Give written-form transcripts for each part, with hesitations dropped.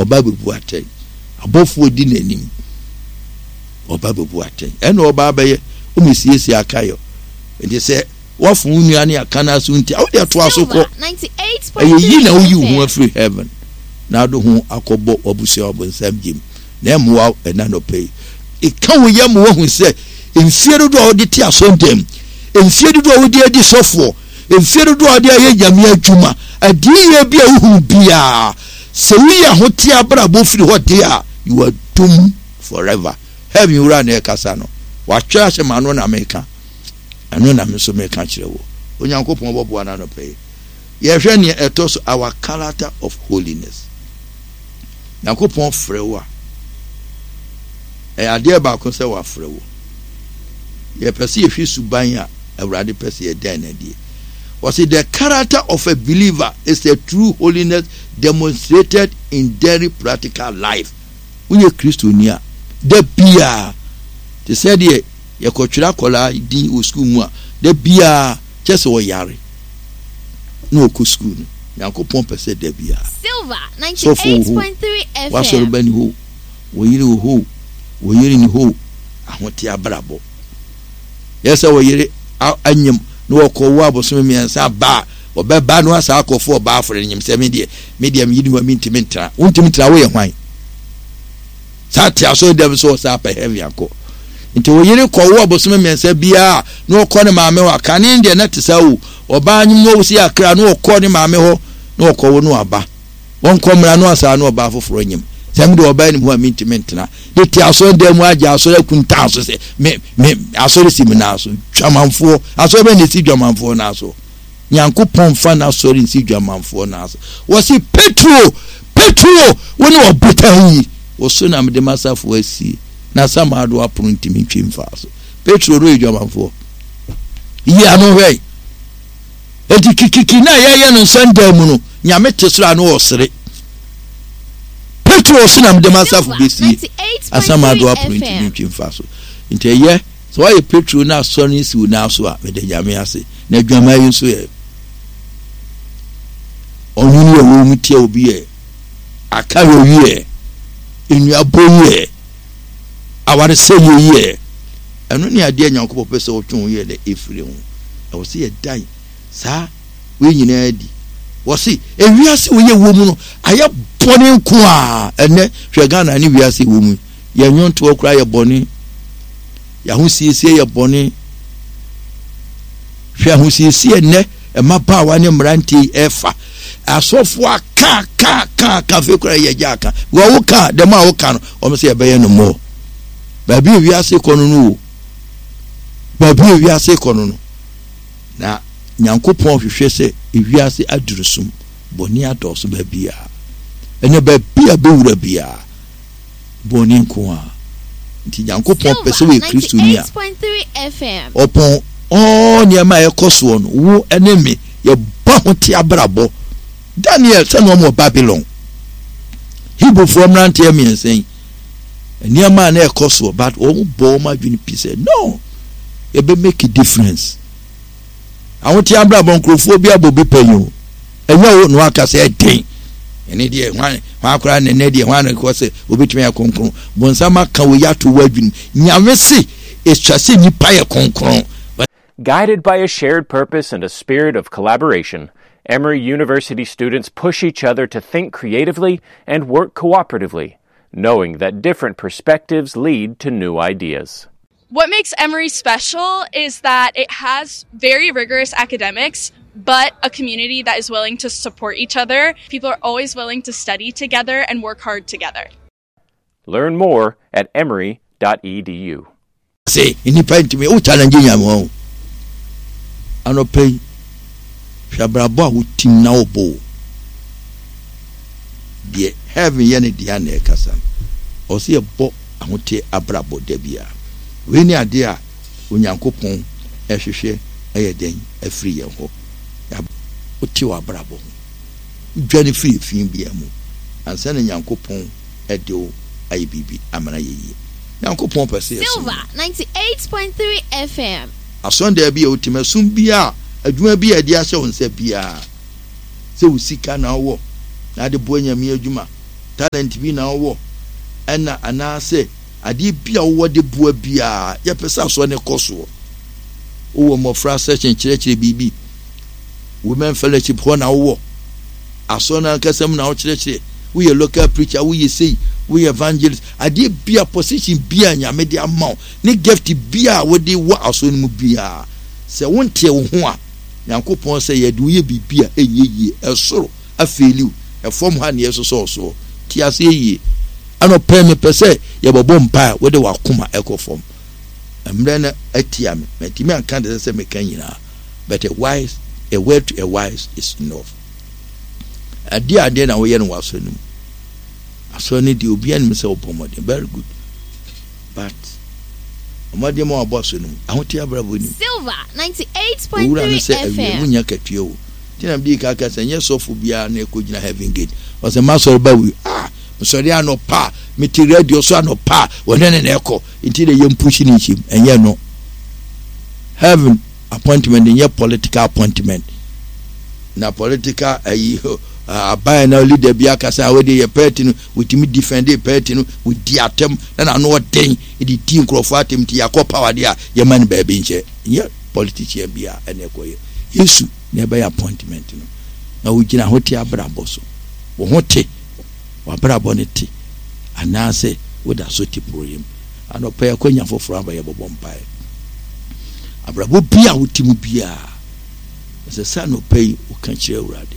Ɔba bɛbu atɛn. Abɔfoɔ di n'anim. Ɔba bɛbu atɛn. Ɛna ɔba abɛyɛ, ɔmɛsiesie akayɔ. Nti sɛ woafo wo nua ne aka no aso nti a, wode atoa so kɔ. Ɛyɛ yi na woyi wo ho afiri heaven na ade ho akɔbɔ w'abusua ɔbonsam gyem na ɛmmoa wo ɛna nɔpɛ yi. Ɛka wo yam ma woahu sɛ mfie dodoɔ a wode te asɔndam, mfie dodoɔ a wode adi sɔfoɔ, mfie dodoɔ a wode ayɛ Nyame adwuma, adiyie bi a wohunu biara, sɛ woyi ahoteɛ abrabɔ firi hɔ deɛ a, you are doomed forever. Heaven wura na ɛkasa no. Watwerɛ ahyɛ m'ano na meka. Ɛno na me nso meka kyerɛ wo. Onyankopɔn bɔboa no anɔpa yi. Yɛhwɛ nea ɛtɔ so, our character of holiness. Nyankopɔn frɛ wo a, ɛyɛ adeɛ baako sɛ wafrɛ wo. Yɛpɛ sɛ yɛhwɛ suban a Awurade pɛ sɛ yɛdan no adie. Wɔsi the character of a believer is a true holiness demonstrated in daily practical life. Woyɛ Kristoni a, da biara te sɛ deɛ yɛkɔtwerɛ akwadaa din wɔ sukuu mu a, da biara kyɛ sɛ ɔyare na ɔkɔ sukuu no. Nyankopɔn pɛ sɛ da biara. Sɔfo wɔ hɔ, w'asɔreba ni hɔ, wo yere wɔ hɔ, wo yere ni hɔ, ahote abrabɔ. Yɛ sɛ wo yere anyem na wɔkɔwo abosome mmiɛnsa ba a, ɔbɛba no asa akɔfo ɔbaa afɔre no nyem sɛ me deɛ, me deɛ me yere ni hɔ a mentumi ntra. Wontumi ntra, woyɛ hwan? Saa te asɔre dɛm so ɔsan apɛ heaven akɔ. Nti wo yere kɔ wo abosome mmiɛnsa biara na ɔkɔ ne maame hɔ a, kane deɛ na te saa o. Ɔbaa nyem na ɔsi akra na ɔkɔ ne maame hɔ na ɔkɔ wo no aba. Wɔnkɔ mmra no asaa na ɔbaa foforɔ nyem. Sɛ me deɛ ɔbaa nim hɔ a mentumi ntena. De te asɔre dan mu agye asɔre akuntan so sɛ me me asɔre si me nan so. Dwamanfoɔ asɔre bɛn na esi dwamanfoɔ nan so? Nyankopɔn mfa n'asɔre nsi dwamanfoɔ nan so. Wɔse Petro, Petro, wo ne ɔbotan yi, wo so na mede m'asafo asie, na Asamando apono ntumi ntwe mfaa so. Petro no yɛ dwamanfoɔ. Yi ano hwɛ. Enti kikiki na yɛyɛ no nsɛndan mu no, Nyame te soro a na ɔsere. Petro so na mede m'asafo besie, Asamando apono ntumi ntwe mfaa so. Nti ɛyɛ Sɛ woayɛ petro na asɔre no si wo nan so a, meda Nyame ase. Na adwaman yi nso yɛ ɔnwene yɛ wɔ mu tia obi yɛ aka yɛ yɛ nnuabɔ yɛ awaresɛ yɛ yɛ ɛno ne adeɛ Nyankopɔn pɛ sɛ wotwe ho yɛ dɛ ɛfiri ho. Ɛwɔ sɛ yɛdan saa wei nyinaa di. Wɔse ewiase wei yɛ wɔ mu no ayɛ bɔne nko a ɛnɛ hwɛ Ghana ne wiase wɔ mu Yɛn nnwontoɔ koraa yɛ bɔne. Yɛn ahosiesie yɛ bɔne. Hwɛ ahosiesie nnɛ mmabaawa ne mmeranteɛ yi ɛfa. Asɔfoɔ aka ka ka ka afei koraa yɛ gya aka. Wɔ wo ka dɛm a woka no wɔn sɛ yɛbɛyɛ no mmɔɔ. Baabi a wiase kɔ no no o. Baabi a wiase kɔ no no. Na Nyankopɔn hwehwɛ sɛ ewiase aduru sum bɔne adɔɔso baabiara. Ɛnɛ baabi a bɛwura biara. bɔne nko ara. Nti Nyankopɔn pɛ sɛ woyɛ Kristoni a, ɔpɔn all nneɛma a ɛkɔ soɔ no, wo ne me, yɛbɔ ho te abrabɔ. Daniel, sɛ na wɔn wɔ Babylon, Hebrewfoɔ mmeranteɛ mmiɛnsa yi, nneɛma a na ɛkɔ soɔ, but wɔn bɔ wɔn adwene pi sɛ, no, yɛbɛ make a difference. Ahoteɛ abrabɔ nkurɔfoɔ bi abɔ bi pɛn o. Ɛnyɛ wo na waka sɛ ɛden. Ɛne deɛ hwan hwan koraa na ɛnɛ deɛ hwan na kɔ sɛ obetumi ayɛ kronkron. Bonsam aka wei ato w'adwene mu. Nyame se etwa sɛ nipa yɛ kronkron. Guided by a shared purpose and a spirit of collaboration, Emory University students push each other to think creatively and work cooperatively, knowing that different perspectives lead to new ideas. What makes Emory special is that it has very rigorous academics, but a community that is willing to support each other. People are always willing to study together and work hard together. Learn more at emory.edu. Se nnipa ntumi wo challenge Nyame wɔn anɔpa yi hwɛ abrabɔ a wotim na wobɔ o deɛ heaven yɛ ne deɛ na ɛkasa no ɔsɛ yɛbɔ ahoteɛ abrabɔ da biara. Wei ne adeɛ a Onyankopɔn hwehwɛ yɛ dɛn afiri yɛn hɔ. Wote w'abrabɔ ho. Wodwane firi efi biara mu ansa na Nyankopɔn de wo ayɛ biribi ama no ayɛ yie. Nyankopɔn pɛ sɛ yɛsom no. Silver 98.3 FM. Asɔndan bi a wote mu, ɛsom biara, adwuma bi a yɛde ahyɛ wo nsa biara, sɛ wo sika na wowɔ na ade boa Nyame adwuma. Talent bi na wowɔ ɛna anaasɛ adeɛ bi a wowɔ de boa biara, yɛpɛ sɛ asɔre no kɔ soɔ. Wowɔ mmɔfra section kyerɛkyerɛ biribi. Women fellowship hɔ na wowɔ. Asɔre no ankasa mu na wokyerɛkyerɛ. Woyɛ local preacher, woyɛ sei, woyɛ evangelist. Adeɛ bia, position bia Nyame de ama wo, ne gift bia a wode wɔ asɔre no mu biara, sɛ wonteɛ wo ho a, Nyankopɔn sɛ yɛde wo yɛ biribi a ɛnyɛ yie. Ɛsoro afeeli wo, ɛfam ha na yɛsosɔ wo soɔ. Te aseɛ yie. Anɔpa yi mepɛ sɛ yɛbɛbɔ mpaeɛ a wode w'akoma ɛkɔ fam. Mmerɛ no atia me, mantumi anka deɛ ɛsɛ sɛ meka nyinaa, but a wise, a word to a wise is enough. Adeɛ adeɛ na woyɛ no wɔ asɔre no mu. Asɔre no deɛ obiara nim sɛ wobɔ mmɔden, very good. But mmɔden ma wabɔ asɔre no mu, ahoteɛ abrabɔ nim. Silver Owura no 98.3 sɛ awie FM. wonya katua o. Nti na mede ka ka sɛ nyɛ sɔfo biara na ɛkɔgyina heaven gate. Ɔsɛ masɔre ba wei. Ah, mesɔre anɔpa a, mete radio so anɔpa a, wɔne ne na ɛkɔ. Nti na yɛn push ne nhyɛm. Ɛnyɛ no. Heaven appointment nyɛ political appointment. Na political ayi aban na leader bi akasa a wɔde yɛ party no, wɔtumi defend party no, wɔdi atɛm na n'ano ɔden de di nkurɔfoɔ atɛm nti yɛakɔ power deɛ a yɛma no baabi nkyɛ. Nyɛ politician bi a ɛna ɛkɔyɛ. Yesu na ɛbɛyɛ appointment no. Na wogyina ho te abrabɔ so. Wo ho te, w'abrabɔ no te, anaasɛ woda so te porɔeɛ mu. Anɔpa yi akwanya foforɔ aba yɛbɔbɔ mpaeɛ. Abrabɔ bi a wote mu biara, ɛsɛ sɛ anɔpa yi woka kyerɛ Awurade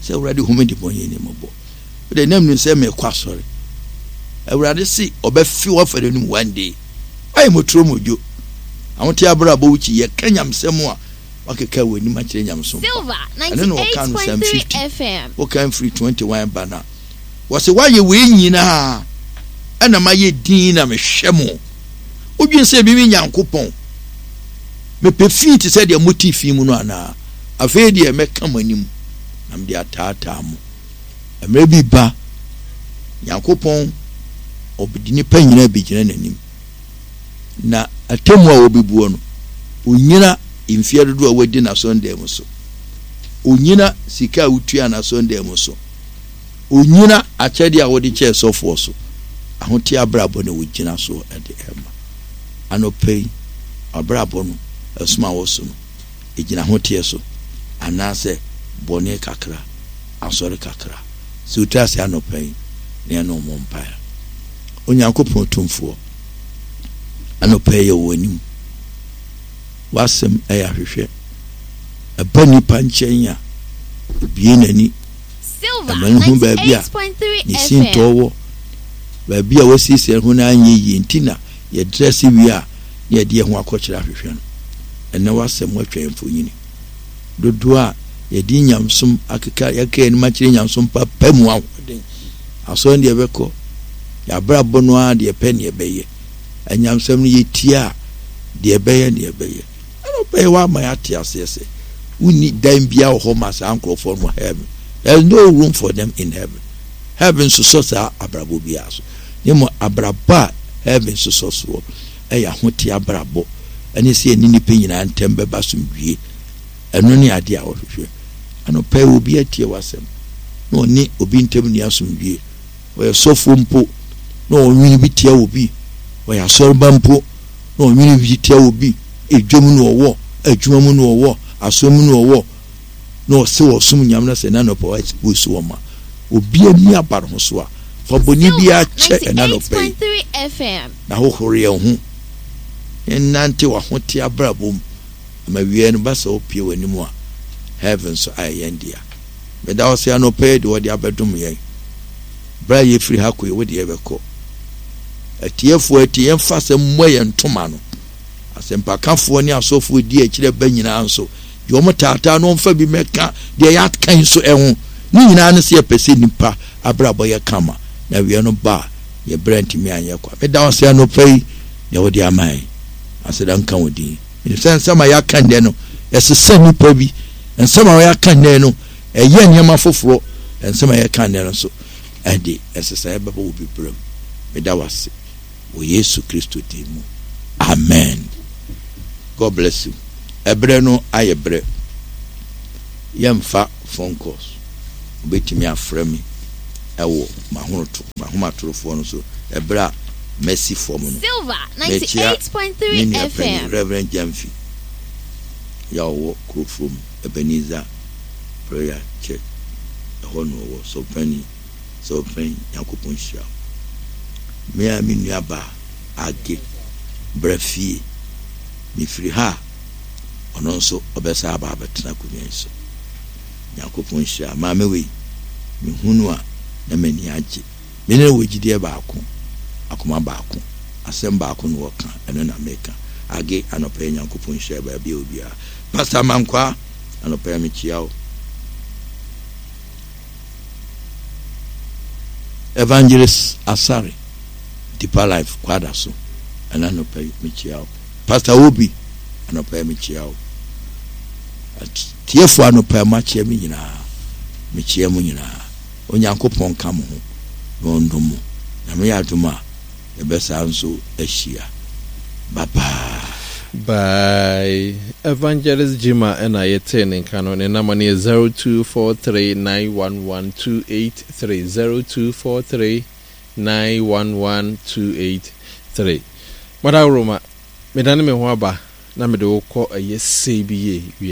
sɛ Awurade hu me de bɔne ni mmɔbɔ. Wode nam nim sɛ mekɔ asɔre. Awurade se ɔbɛfe w'afa n'anim one day. Ayɛ motoro modwo. Ahote abrabɔ wo kyi yɛka nyamsɛm a wakeka w'anim akyerɛ nyamesom pa. Ɛno na wɔka no Psalm 50. Wokan firi 21 ba no a, wɔse woayɛ wei nyinaa ɛna mayɛ din na mehwɛ mo. Wodwen sɛ mimi Nyankopɔn mepɛ fi te sɛ deɛ mote fi mu no anaa? Afei deɛ mɛka mo anim na mede ataataa mo. Mmerɛ bi ba, Nyankopɔn ɔde nnipa nyinaa bɛgyina n'anim. Na atemmu a wɔbɛbuo no, ɔnnyina mfeɛ dodoɔ a wadi n'asɔndan mu so. Ɔnnyina sika a wotua n'asɔndan mu so. Ɔnnyina akyɛdeɛ a wode kyɛɛ sɔfoɔ so. Ahoteɛ abrabɔ na wɔgyina soɔ de ɛma. Anɔpa yi, w'abrabɔ no, ɛsom a woso no, ɛgyina ahoteɛ so anaasɛ bɔne kakra, asɔre kakra. Sɛ wotu ase anɔpa yi na yɛne wo mmɔ mpaeɛ. Onyankopɔn Tumfoɔ, anɔpa yi yɛwɔ w'anim. W'asɛm yɛ ahwehwɛ. Ɛba nnipa nkyɛn a, ebue n'ani. Silver Ɛma no hu baabi a 98.3 ne FM. sintɔ wɔ, baabi a wasiesie ne ho no anyɛ yie nti na yɛdrɛse wie a na yɛde yɛn ho akɔkyerɛ ahwehwɛ no. Ɛnnɛ w'asɛm atwa yɛn mfonini. Dodoɔ a yɛde nyamesom akeka yɛaka yɛn anim akyerɛ nyamesom papa mu ahoɔden. Asɔre deɛ yɛbɛkɔ, yɛn abrabɔ no ara deɛ ɛpɛ ne yɛbɛyɛ. Anyamsɛm no yɛtie a, deɛ ɛbɛyɛ ne yɛbɛyɛ. Ɛna ɔbɛyɛ wama yɛate aseɛ sɛ wonni dan biara wɔ hɔ ma saa nkurɔfoɔ no wɔ heaven. There is no room for them in heaven. Heaven sosɔ saa abrabɔ biara so. Na mmom abrabɔ a heaven sosɔ soɔ ɛyɛ ahoteɛ abrabɔ ɛne sɛ yɛne nnipa nyinaa ntam bɛba asomdwie. Ɛno ne adeɛ a wɔhwehwɛ. Anɔpa yi obi atie w'asɛm na ɔne obi ntam nni asomdwie. Ɔyɛ sɔfoɔ mpo na ɔnwene bi tia obi. Ɔyɛ asɔreba mpo na ɔnwene bi tia obi. Edwam na ɔwɔ, adwuma mu na ɔwɔ, asɔre mu na ɔwɔ na ɔse ɔsom Nyame na sɛ ɛna anɔpa wa expose wɔn ma obi ani aba ne ho so a, fa bɔne Silver biara kyɛ ɛna anɔpa yi 98.3 FM. na hohoro yɛn ho. Yɛnnante w'ahoteɛ abrabɔ mu. Ama wiɛ no ba sɛ wopue w'anim a, heaven nso ayɛ yɛn dea. Meda wo ase anɔpa yi de wɔde abɛdom yɛn. Berɛ a yɛfiri ha kɔ yi, wode yɛbɛkɔ. Atiefoɔ atie, yɛmfa asɛm mmɔ yɛn ntoma no. Asɛmpakafoɔ ne asɔfoɔ di akyire ba nyinaa nso, deɛ wɔn taataa no wɔmfa bi mmɛka deɛ yɛaka yi nso ho. Ne nyinaa ne sɛ yɛpɛ sɛ nnipa abrabɔ yɛ kama, na wiɛ no ba a, yɛ berɛ ntumi anyɛ kwa. Meda wo ase anɔpa yi deɛ wode ama yɛn. Aseda nka wo din. Menim sɛ nsɛm a yɛaka nnɛ no, ɛsesa nnipa bi. Nsɛm a yɛaka nnɛ no, ɛyɛ nneɛma foforɔ. Nsɛm a yɛka nnɛ no nso, ɛde nsesaeɛ bɛba wɔ bi berɛ mu. Meda wo ase wɔ Yesu Kristo din mu. Amen. God bless you. Ɛberɛ no ayɛ berɛ. Yɛmfa phone calls. Wobɛtumi afrɛ me. wɔ m'ahonoto, m'ahomatorofoɔ no so ɛberɛ a masi fam no. Silver Mekyea 98.3 me nua panin FM. Rev. Gyamfi a ɔwɔ Kurofurom Ebenezer Prayer Church, ɛhɔ na ɔwɔ. Sɔfopanin, Sɔfopanin, Nyankopɔn nhyira wo. Me ara me nua baa Age, bra fie. Mefiri ha a, ɔno nso ɔbɛsan aba abɛtena akonnwa yi so. Nyankopɔn nhyira maame wei. Mehu no a, na m'ani agye. Me ne no wɔ gyidie baako, akoma baako, asɛm baako na ɔka, ɛno na meka. Age, anɔpa yi Nyankopɔn nhyira baabi a obiara. Pastor Mankwaa, anɔpa yi mekyia wo. Evangelist Asare, Deeper Life, Kwadaso, ɛna anɔpa yi mekyia wo. Pastor Obi, anɔpa yi mekyia wo. Atiefo anɔpa yi moakyia me nyinaa, mekyia mo nyinaa. Onyankopɔn nka mo ho na ɔndom mo. Nyame yɛ adom a, yɛbɛsan nso ahyia. Bye bye. Bye. Evangelist Jima ɛna yɛtee ne nka no. Ne nama no yɛ 0243911283 0243911283. Mada Roma, medane me ho aba na mede wo kɔ ɛyɛ sei bi yie wia.